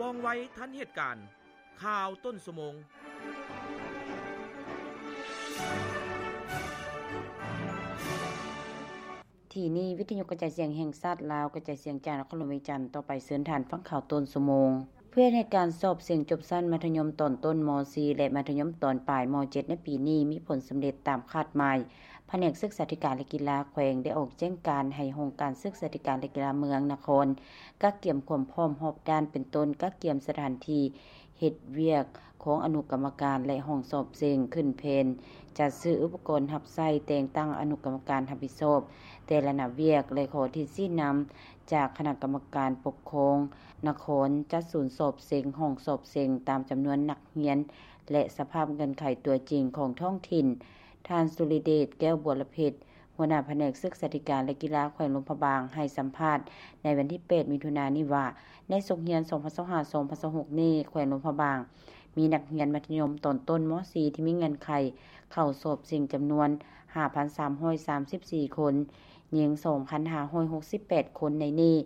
ວ່ອງໄວທັນເຫດການ. ຂ່າວຕົ້ນຊົ່ວໂມງ. ທີ່ນີ້ ວິທະຍຸກະຈາຍສຽງແຫ່ງຊາດລາວ ກະຈາຍສຽງຈາກນະຄອນຫຼວງວຽງຈັນ. ຕໍ່ໄປເຊີນທ່ານຟັງຂ່າວຕົ້ນຊົ່ວໂມງ. ເພື່ອໃຫ້ການສອບເສັງຈົບຊັ້ນມັດທະຍົມຕອນຕົ້ນ ມໍສີ່ ແລະ ມັດທະຍົມຕອນປາຍ ມໍເຈັດ ໃນປີນີ້ມີຜົນສຳເລັດຕາມຄາດໝາຍ, ພະແນກສຶກສາທິການ ແລະ ກິລາແຂວງໄດ້ອອກແຈ້ງການໃຫ້ຫ້ອງການສຶກສາທິການ ແລະ ກິລາເມືອງນະຄອນ ກະກຽມຄວາມພ້ອມຮອບດ້ານ ເປັນຕົ້ນ ກະກຽມສະຖານທີ່ເຮັດວຽກຂອງອະນຸກຳມະການ ແລະ ຫ້ອງສອບເສັງ, ຂຶ້ນແຜນຈັດຊື້ອຸປະກອນຮັບໃຊ້, ແຕ່ງຕັ້ງອະນຸກຳມະການຮັບຜິດຊອບແຕ່ລະໜ້າວຽກ ແລະ ຂໍທິດຊີ້ນຳຈາກຄະນະກຳມະການປົກຄອງນະຄອນ ຈັດສູນສອບເສັງ, ຫ້ອງສອບເສັງ ຕາມຈຳນວນນັກຮຽນ ແລະ ສະພາບເງື່ອນໄຂຕົວຈິງຂອງທ້ອງຖິ່ນ. ທ່ານ ສຸລິເດດ ແກ້ວບົວລະເພັດ ຫົວໜ້າພະແນກສຶກສາທິການ ແລະ ກິລາແຂວງຫຼວງພະບາງ ໃຫ້ສຳພາດໃນວັນທີແປດ ມິຖຸນານີ້ວ່າ ໃນສົກຮຽນ ສອງພັນຊາວຫ້າ ສອງພັນຊາວຫົກນີ້ ແຂວງຫຼວງພະບາງ ມີນັກຮຽນມັດທະຍົມຕອນຕົ້ນ ມໍສີ່ ທີ່ມີເງື່ອນໄຂເຂົ້າສອບເສັງຈຳນວນ ຫ້າພັນສາມຮ້ອຍສາມສິບສີ່ຄົນ, ຍິງ ສອງພັນຫ້າຮ້ອຍຫົກສິບແປດຄົນ. ໃນນີ້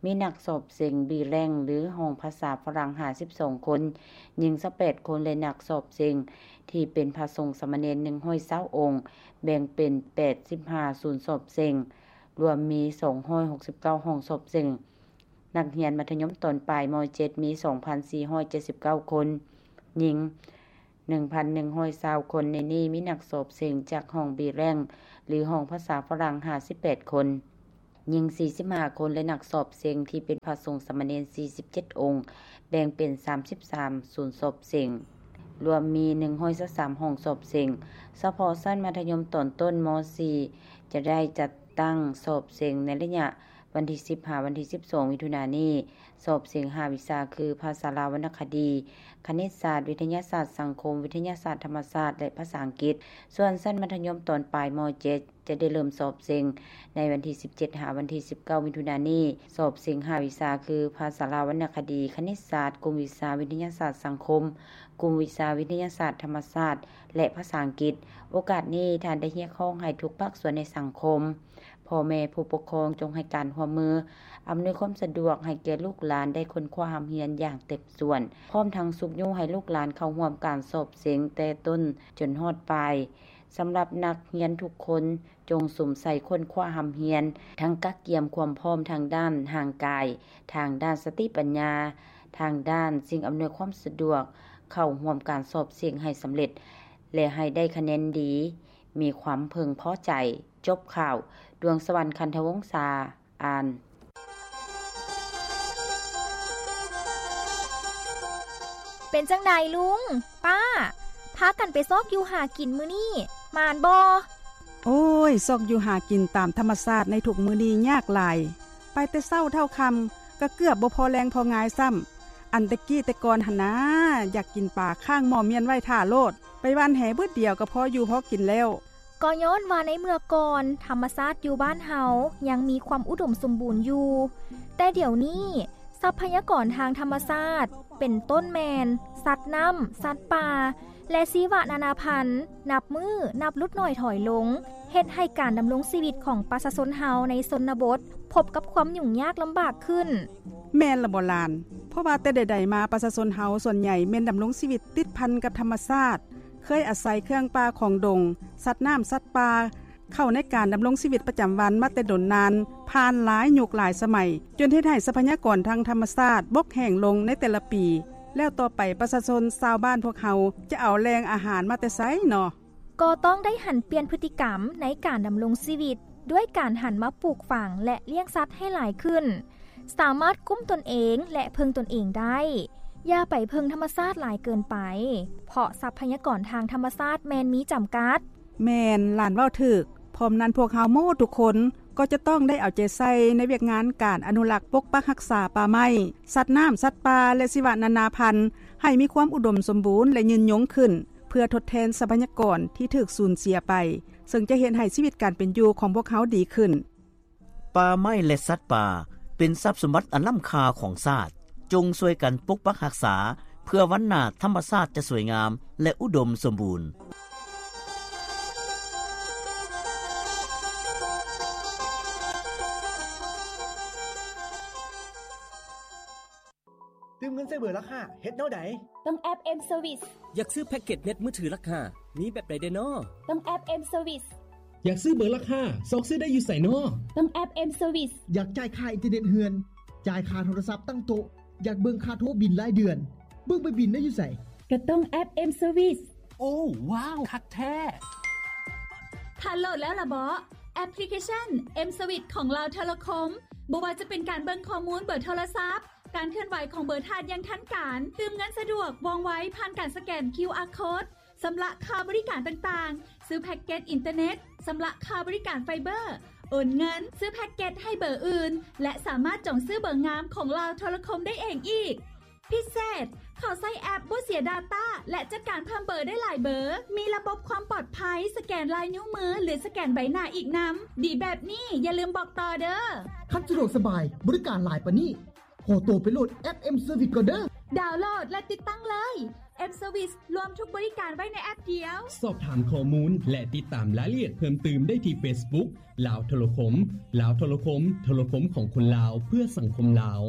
ມີນັກສອບເສັງ B rank ຫຼື ຫ້ອງພາສາຝຣັ່ງ ຫ້າສິບສອງຄົນ, ຍິງ ຊາວແປດຄົນ ແລະ ນັກສອບເສັງທີ່ເປັນພະສົງສາມະເນນ ໜຶ່ງຮ້ອຍຊາວອົງ, ແບ່ງເປັນ ແປດສິບຫ້າສູນສອບເສັງ, ລວມມີ ສອງຮ້ອຍຫົກສິບເກົ້າຫ້ອງສອບເສັງ. ນັກຮຽນມັດທະຍົມຕອນປາຍ ມໍເຈັດ ມີ ສອງພັນສີ່ຮ້ອຍເຈັດສິບເກົ້າຄົນ, ຍິງ ໜຶ່ງພັນໜຶ່ງຮ້ອຍຊາວຄົນ. ໃນນີ້ມີນັກສອບເສັງຈາກຫ້ອງ B rank ຫຼື ຫ້ອງພາສາຝຣັ່ງ ຫ້າສິບແປດຄົນ, ຍິງ ສີ່ສິບຫ້າຄົນ ແລະ ນັກສອບເສັງທີ່ເປັນພະສົງສາມະເນນ ສີ່ສິບເຈັດອົງ, ແບ່ງເປັນ ສາມສິບສາມສູນສອບເສັງ, ລວມມີ ໜຶ່ງຮ້ອຍຊາວສາມຫ້ອງສອບເສັງ. ສະເພາະຊັ້ນມັດທະຍົມຕອນຕົ້ນ ມໍສີ່ ຈະໄດ້ຈັດຕັ້ງສອບເສັງໃນໄລຍະ ວັນທີສິບ ຫາວັນທີສິບສອງ ມິຖຸນານີ້. ສອບເສັງຫ້າວິຊາ ຄື ພາສາລາວວັນນະຄະດີ, ຄະນິດສາດ, ວິທະຍາສາດສັງຄົມ, ວິທະຍາສາດທຳມະຊາດ ແລະ ພາສາອັງກິດ. ສ່ວນຊັ້ນມັດທະຍົມຕອນປາຍ ມໍເຈັດ ຈະໄດ້ເລີ່ມສອບເສັງໃນວັນທີສິບເຈັດ ຫາວັນທີສິບເກົ້າ ມິຖຸນານີ້. ສອບເສັງຫ້າວິຊາ ຄື ພາສາລາວວັນນະຄະດີ, ຄະນິດສາດ, ກຸ່ມວິຊາວິທະຍາສາດສັງຄົມ, ກຸ່ມວິຊາວິທະຍາສາດທຳມະຊາດ ແລະ ພາສາອັງກິດ. ໂອກາດນີ້ ທ່ານໄດ້ຮຽກຮ້ອງໃຫ້ທຸກພາກສ່ວນໃນສັງຄົມ, ພໍ່ແມ່ຜູ້ປົກຄອງ ຈົ່ງໃຫ້ການຮ່ວມມື, ອຳນວຍຄວາມສະດວກໃຫ້ແກ່ລູກຫຼານໄດ້ຄົ້ນຄວ້າຮ່ຳຮຽນຢ່າງເຕັມສ່ວນ, ພ້ອມທັງຊຸກຍູ້ໃຫ້ລູກຫຼານເຂົ້າຮ່ວມການສອບເສັງແຕ່ຕົ້ນຈົນຮອດປາຍ. ສຳລັບນັກຮຽນທຸກຄົນ, ຈົ່ງສຸມໃສ່ຄົ້ນຄວ້າຮ່ຳຮຽນ, ທັງກະກຽມຄວາມພ້ອມທາງດ້ານຮ່າງກາຍ, ທາງດ້ານສະຕິປັນຍາ, ທາງດ້ານສິ່ງອຳນວຍຄວາມສະດວກ, ເຂົ້າຮ່ວມການສອບເສັງໃຫ້ສຳເລັດ ແລະ ໃຫ້ໄດ້ຄະແນນດີ, ມີຄວາມເພິ່ງພໍໃຈ. ຈົບຂ່າວ. ດວງສະຫວັນ ຄັນທະວົງສາ ອ່ານ. ເປັນຈັ່ງໃດລຸງ, ປ້າ, ພາກັນໄປຊອກຢູ່ຫາກິນມື້ນີ້ ໝານບໍ່? ໂອ້ຍ, ຊອກຢູ່ຫາກິນຕາມທຳມະຊາດໃນທຸກມື້ນີ້ຍາກຫຼາຍ. ໄປແຕ່ເຊົ້າເທົ່າຄ່ຳ ກໍເກືອບບໍ່ພໍແລງພໍງາຍຊ້ຳ. ອັນແຕ່ກີ້ແຕ່ກ່ອນຫັ້ນນາ, ຢາກກິນປາຄ້າງໝໍ້ມ້ຽນໄວ້ຖ້າໂລດ, ໄປຫວ່ານແຫບຶດດຽວກໍພໍຢູ່ພໍກິນແລ້ວ. ກໍຍ້ອນວ່າໃນເມື່ອກ່ອນ ທຳມະຊາດຢູ່ບ້ານເຮົາຍັງມີຄວາມອຸດົມສົມບູນຢູ່, ແຕ່ດຽວນີ້ ຊັບພະຍາກອນທາງທຳມະຊາດ ເປັນຕົ້ນແມ່ນ ສັດນ້ຳ, ສັດປ່າ ແລະ ຊີວະນານາພັນ ນັບມື້ນັບຫຼຸດໜ້ອຍຖອຍລົງ, ເຮັດໃຫ້ການດຳລົງຊີວິດຂອງປະຊາຊົນເຮົາໃນຊົນນະບົດ ພົບກັບຄວາມຫຍຸ້ງຍາກລຳບາກຂຶ້ນ. ແມ່ນລະບໍ່ຫຼານ? ເພາະວ່າແຕ່ໃດໆມາ ປະຊາຊົນເຮົາສ່ວນໃຫຍ່ແມ່ນດຳລົງຊີວິດຕິດພັນກັບທຳມະຊາດ, ເຄີຍອາໄສເຄື່ອງປ່າຂອງດົງ, ສັດນ້ຳ, ສັດປ່າ ເຂົ້າໃນການດຳລົງຊີວິດປະຈຳວັນມາແຕ່ດົນນານ, ຜ່ານຫຼາຍຍຸກຫຼາຍສະໄໝ, ຈົນເຮັດໃຫ້ຊັບພະຍາກອນທາງທຳມະຊາດບົກແຫ້ງລົງໃນແຕ່ລະປີ. ແລ້ວຕໍ່ໄປປະຊາຊົນຊາວບ້ານພວກເຮົາຈະເອົາແຫຼ່ງອາຫານມາແຕ່ໃສເນາະ? ກໍຕ້ອງໄດ້ຫັນປ່ຽນພຶດຕິກຳໃນການດຳລົງຊີວິດ ດ້ວຍການຫັນມາປູກຝັງ ແລະ ລ້ຽງສັດໃຫ້ຫຼາຍຂຶ້ນ, ສາມາດກຸ້ມຕົນເອງ ແລະ ເພິ່ງຕົນເອງໄດ້. ຢ່າໄປເພິ່ງທຳມະຊາດຫຼາຍເກີນໄປ, ເພາະຊັບພະຍາກອນທາງທຳມະຊາດແມ່ນມີຈຳກັດ. ແມ່ນ, ຫຼານເວົ້າຖືກ. ພ້ອມນັ້ນ, ພວກເຮົາໝົດທຸກຄົນກໍຈະຕ້ອງໄດ້ເອົາໃຈໃສ່ໃນວຽກງານການອະນຸລັກປົກປັກຮັກສາປ່າໄມ້, ສັດນ້ຳ, ສັດປ່າ ແລະ ຊີວະນານາພັນ ໃຫ້ມີຄວາມອຸດົມສົມບູນ ແລະ ຍືນຍົງຂຶ້ນ, ເພື່ອທົດແທນຊັບພະຍາກອນທີ່ຖືກສູນເສຍໄປ, ເຊິ່ງຈະເຮັດໃຫ້ຊີວິດການເປັນຢູ່ຂອງພວກເຮົາດີຂຶ້ນ. ປ່າໄມ້ ແລະ ສັດປ່າ ເປັນຊັບສົມບັດອັນລ້ຳຄ່າຂອງຊາດ. ຈົ່ງຊ່ວຍກັນປົກປັກຮັກສາ ເພື່ອວັນໜ້າທຳມະຊາດຈະສວຍງາມ ແລະ ອຸດົມສົມບູນ. ຕື່ມເງິນໃສ່ເບີລາຄາ ເຮັດແນວໃດ? ຕ້ອງແອັບ M Service. ຢາກຊື້ແພັກເກັດເນັດມືຖືລາຄາ ມີແບບໃດແດ່ນໍ? ຕ້ອງແອັບ M Service. ຢາກຊື້ເບີລາຄາ ຊອກຊື້ໄດ້ຢູ່ໃສນໍ? ຕ້ອງແອັບ M Service. ຢາກຈ່າຍຄ່າອິນເຕີເນັດເຮືອນ, ຈ່າຍຄ່າໂທລະສັບຕັ້ງໂຕະ, ຢາກເບິ່ງຄ່າໂທບິນລາຍເດືອນ, ເບິ່ງໃບບິນໄດ້ຢູ່ໃສ? ກໍຕ້ອງແອັບ M Service. ໂອ້ ວ້າວ ຄັກແທ້! ທ່ານໂຫຼດແລ້ວລະເບາະ? ແອັບພລິເຄຊັນ M Service ຂອງລາວໂທລະຄົມ. ບໍ່ວ່າຈະເປັນການເບິ່ງຂໍ້ມູນເບີໂທລະສັບ, ການເຄື່ອນໄຫວຂອງເບີທ່ານຢ່າງທັນການ, ຕື່ມເງິນສະດວກ, ວ່ອງໄວ, ຜ່ານການສະແກນ QR code, ຊຳລະຄ່າບໍລິການຕ່າງໆ, ຊື້ແພັກເກັດອິນເຕີເນັດ, ຊຳລະຄ່າບໍລິການໄຟເບີ, ໂອນເງິນ, ຊື້ແພັກເກັດໃຫ້ເບີອື່ນ ແລະ ສາມາດຈອງຊື້ເບີງາມຂອງລາວໂທລະຄົມໄດ້ເອງອີກ. ພິເສດ, ເຂົ້າໃຊ້ແອັບບໍ່ເສຍດາຕ້າ ແລະ ຈັດການເພີ່ມເບີໄດ້ຫຼາຍເບີ, ມີລະບົບຄວາມປອດໄພ, ສະແກນລາຍນິ້ວມື ຫຼື ສະແກນໃບໜ້າອີກນຳ. ດີແບບນີ້ ຢ່າລືມບອກຕໍ່ເດີ້. ຄັນສະດວກສະບາຍ, ບໍລິການຫຼາຍປານນີ້, ຂໍໂຕໄປໂຫຼດແອັບ M Service ກ່ອນເດີ້. ດາວໂຫຼດ ແລະ ຕິດຕັ້ງເລີຍ. M Service ລວມທຸກບໍລິການໄວ້ໃນແອັບດຽວ. ສອບຖາມຂໍ້ມູນ ແລະ ຕິດຕາມລາຍລະອຽດເພີ່ມຕື່ມໄດ້ທີ່ Facebook ລາວໂທລະຄົມ. ລາວໂທລະຄົມ, ໂທລະຄົມຂອງຄົນລາວ ເພື່ອສັງຄົມລາວ.